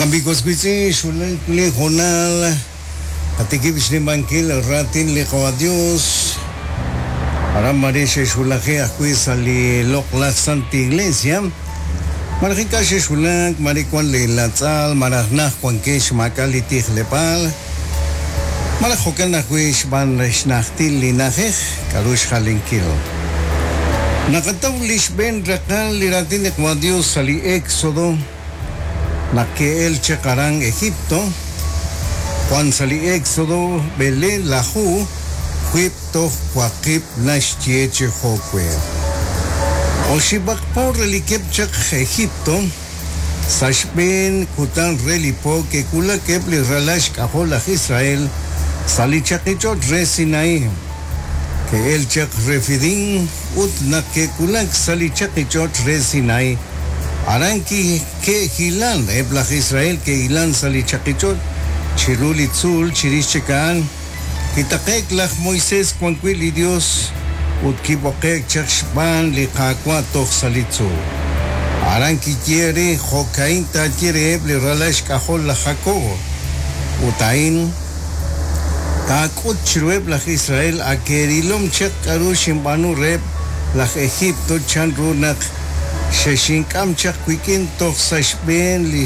Jo'kan b'i' was wiitz'in, xwulak li hoonal qatikib' xnimankil raatin li Qawa' Dios. Aran maare xexwulaje' ajwi' sa' li loq'laj Santa Iglesia. Malaj ink'a' xexwulak, maare wan lee latz'al malaj najt wankex maak'a' li tijleb'aal. Malaj jo'kan ajwi' xb'aan xnajtil li na'ajej, k'a'ru xjalinkil. Naqataw li xb'een raqal li raatin li Qawa' Dios sa' li Exodo naq ke'el chaq aran Egipto, wan sa' li Exodo b'eleelaju, wiib' toj waqib' naxye chi jo'we. Oxib'aq po relikeb' chaq Egipto, sa' xb'een kutan re li po ke'wulak eb' li ralal xk'ajol laj Israel sa' li chaqich'och' re Sinaí. Ke'el chaq Refidín ut naq ke'wulak sa' li chaqich'och' re Sinaí, aran ke'hilan. Eb' laj Israel ke'hilan sa' li chaqich'och' chiru li tzuul. Chirix chik a'an, kitaqe'k laj Moisés wan wi' li Yos ut kib'oqe'k chaq xb'aan li Qaawa' toj sa' li tzuul. Aran kiye re, Jo'ka'in taaye reheb' li ralal xk'ajol laj Jakob, ut a'in taak'ut chiruheb' laj Israel, Ak eerilom chaq k'aru xinb'aanu reheb' laj Egipto, chanru naq xexink'am chaq wik'in toj sa' xb'een li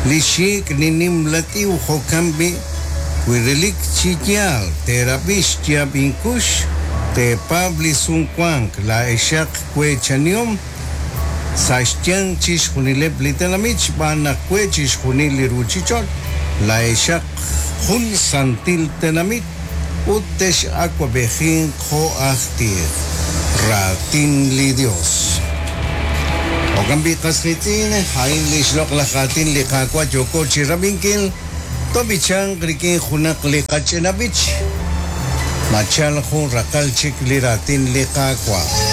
Li xik' li nimla t'iw jo'kan b'i', wi relik chi yaal teerab'i xyaab' inkux, teepaab' li sumwank laa'exaq weechanihom sa' xyanq chixjunileb' li tenamit xb'aan naq we chixjunil li ruuchich'och' laa'exaq jun santil tenamit ut tex'awab'ejinq jo' aj tij. Raatin li Yos. Jo'kan b'i' qas qiitz'in, a'in li xloq'laj aatin li Qaawa' yooko chi rab'inkil, toob'ichanq rik'in junaq li qach'ina b'ich. Nachalk jun raqal chik li raatin li Qaawa'.